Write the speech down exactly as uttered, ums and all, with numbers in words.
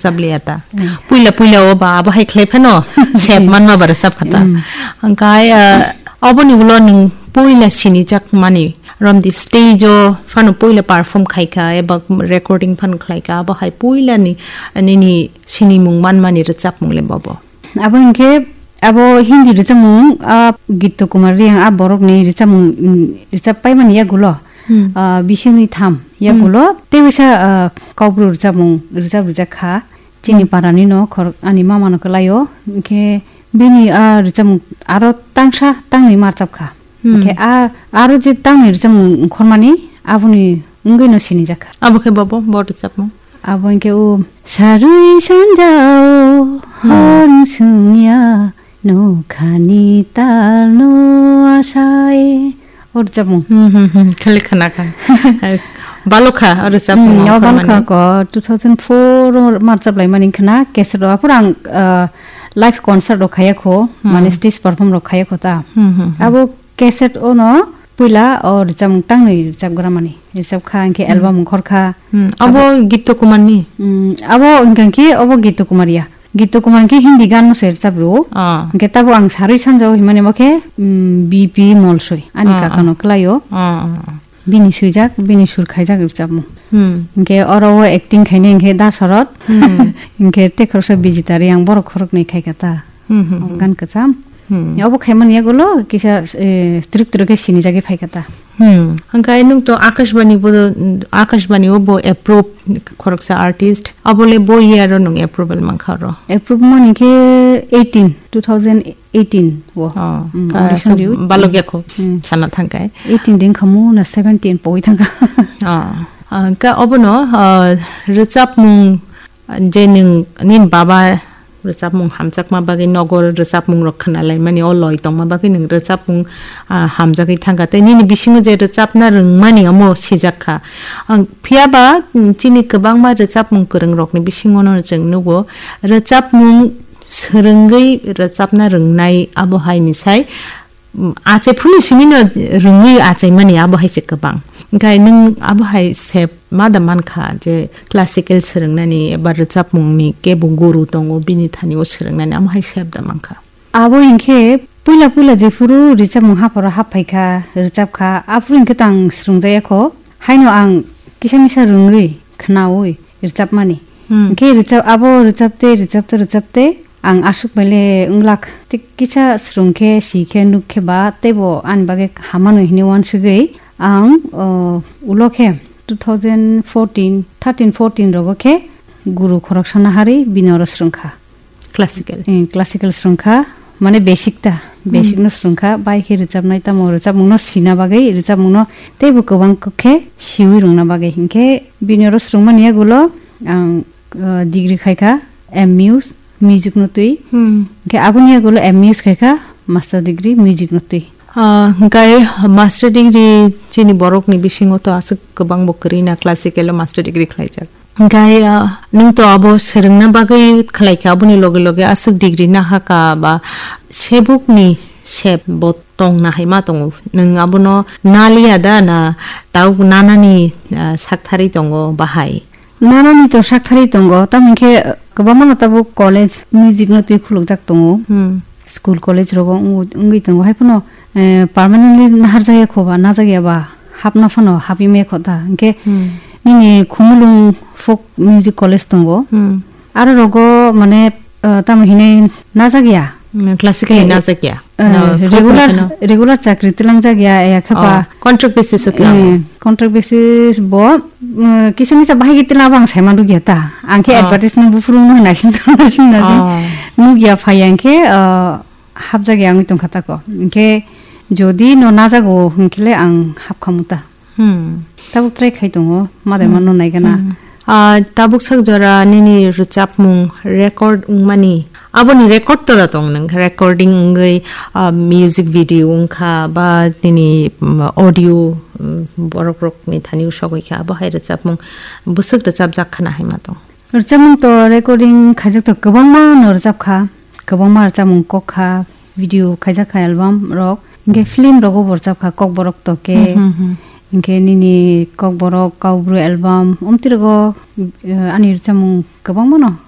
Chabliya ta. Hmm. Puila puila o ba abo hai khlai phano sep Hmm. manma ba rwchap kha ta. Hmm. Hwnkhe, ah, oboni ulo nwng puila sinijak mani romdi stage o phano puila perform khai kha eba recording phano khlai kha, abo hai puila ni nini sinimung manmani rwchapmung le bobo? Abo hinkhe abo Hindi rwchapmung, ah, Gitto Kumar Reang, ah, borokni rwchapmung, mm, rwchap paimani yagulo, Hmm. ah, bisingni tham Hmm. yagulo tei waisa, ah, Kaubru rwchapmung rwchap rijak kha. Chini Hmm. parani no khor-, ani mama no kwlaio. Hinkhe bini, ah, rwchapmung aro tangsa tangni marchap kha. Hmm. Hinkhe a, aro je tangni rwchapmung ongkhormani aboni wngwi no sinijak kha. Abo khe bobo, bo rwchapmung? Abo hinkhe o sarwi sanjao Hmm. hor sungya nokhani talno asai. O rwchapmung. Hmm, hmm, hmm. Khali khna kha. Balokha o rwchapmung Hmm, o ongkhormani. Balokha ko two thousand four o marchap laimani khna cassette o. Aphuru ang, ah, live concert rok khaya kho, Hmm. mane stage perform rok khaya kho ta. Hmm, hmm, hmm. Abo cassette ono puila o rwchapmung tangni rwchapgramani. Rwchap kha, hinkhe Hmm. album ongkhor kha. Hmm. Abo Gitto Kumar ni? Hmm, abo hinkhe obo Gitto Kumar ya. Gitto Kumar hinkhe Hindi gan no se rwchap rwo. Ah. Hinkhe tabo ang sarwi sanjao himani bo khe, hmm, B P Molsoi. Ani Ah, kaka ah. no kwlaio. Ah, ah, ah. Bini swijak, bini sur khaijak rwchapmung. Hmm. Hinkhe oro o acting khainai hinkhe Dasarot. Hmm. Hinkhe tei khoroksa Bijita Reang, borok khoroknwi khai kha ta. Hmm, hmm, O hmm. gan kwcham. Hmm. Obo khaimani yagulo kisa, eh, twrwk twrwk khe sinijagwi phai kha ta. Hmm. Hwnkhe nwng to Akashbani bo, Akashbani o bo approve khoroksa artist. Abo le bo year o nwng approval mankha oro? Approve mani khe eighteen, two thousand eighteen o. Oh, Hmm, ka audition aswk riwi. Balok yakho Hmm. sana thangkai. Eighteen ding khamu na seventeen poi thangkha. Oh. Ah, ka obono, ah, rwchapmung je nwng nini baba rwchapmung hamjakma bagwi nogo rwchapmung rok khna laimani, o loi tongma bagwi nwng rwchapmung, ah, hamjagwi thangkha. Tei nini bisingo je rwchapna rwngmani omo sijak kha. Ang, phiya ba, mm, chini kwbangma rwchapmung kwrwng rokni bisingo no chwng nugo, rwchapmung swrwngwi rwchapna rwngnai abo hai ni sai, mm, achai phuru ni simi no rwngwi achaimani abo hai se kwbang. Hwnkhe nwng abo hai se ma da mankha je classical swrwngnani eba rwchapmungni kebo guru tongo, bini thani o swrwngnani amo hai sep da mankha. Abo hinkhe puila puila jephuru rwchapmung hapharo hap phaikha, rwchapkha, aphuru hinkhe to ang swrwngjaya kho. Haino ang kisa misa rwngwi, khnaui rwchapmani. Hmm. Hinkhe rwchap, abo rwchapte, rwchapte, rwchapte ang aswk baile wnglak. Tei kisa swrwng khe, si khe, nuk khe ba teibo ani bagwi hamano hinwi uansugwi ang, o, ulo khe two thousand fourteen, thirteen, fourteen rogo khe guru khoroksano harwi bini oro swrwngkha. Classical. Eh, classical swrwngkha, mane basic ta, basic Hmm. no swrwngkha, bai khe rwchapnai tamo rwchapmungno sina bagwi rwchapmungno teibo kwbang khe siwi rwngna bagwi. Hinkhe bini oro swrwngmani yagulo ang, uh, degree khaikha M Mus, music no twi. Hmm. Hinkhe aboni yagulo M Mus khaikha, master degree music no twi. Ah, hwnkhe master degree chini borokni bisingo to aswk kwbangbo kwrwi na classical o master degree khlaijak. Hwnkhe, ah, nwng to abo swrwngna bagwi khlai kha, aboni loge loge aswk degree nahaka ba sebukni sep bo tongna hai ma tongo. Nwng abono naliya da na tabuk nanani, ah, saktharwi tongo bahai? Nanani to saktharwi tongo, tamo hinkhe, ah, kwbangma no tabuk college music no twi khulukjak tongo. Hmm. School college rogo wngwi, wngwi tongo. Hai phano, eh, permanently naharjakya kho ba, najakya ba, hapna phano hapwi maya kho ta. Hinkhe Hmm. nini Khumulwng Folk Music College tongo. Hmm. Aro rogo mane, eh, tamo hinwi najakya. Hmm, classical Eh, najakya. eh, No, folk regular, no. regular chakri twlangjakya, ya khe ba. Oh, contract basis o twlang. Eh, contract basis bo, mm, kisa misa bahai khe twlang abo ang saima nukya ta. Ang khe Oh. advertisement buphuru wngno hai naising tong, naising, naising. Oh. Nukya phai ang khe, eh, hapjak ya wngwi tongkha tako. Hinkhe jodi no najago hinkhe le ang hapkhamu ta. Hmm. Tabuk try khai tongo, madai Hmm. mano naigana. Hmm. Ah, tabuk sak jora nini rwchapmung record wngmani, aboni record tola tong nwng? Recording wngwi, ah, music video wngkha ba nini, mm, audio, mm, borok rokni thani usogwi kha, abo hai rwchapmung bwswk rwchapjak khana hai ma tong? Rwchapmung to recording khaijak to kwbangma no rwchap kha, kwbangma rwchapmung kok kha, video khaijak kha album rok, hinkhe film rogo bo rwchap kha, Kokborok Toke, Hmm, hmm, hmm. hinkhe nini Kokborok, Kaubru album, omtwi rogo, eh, ani rwchapmung kwbangma no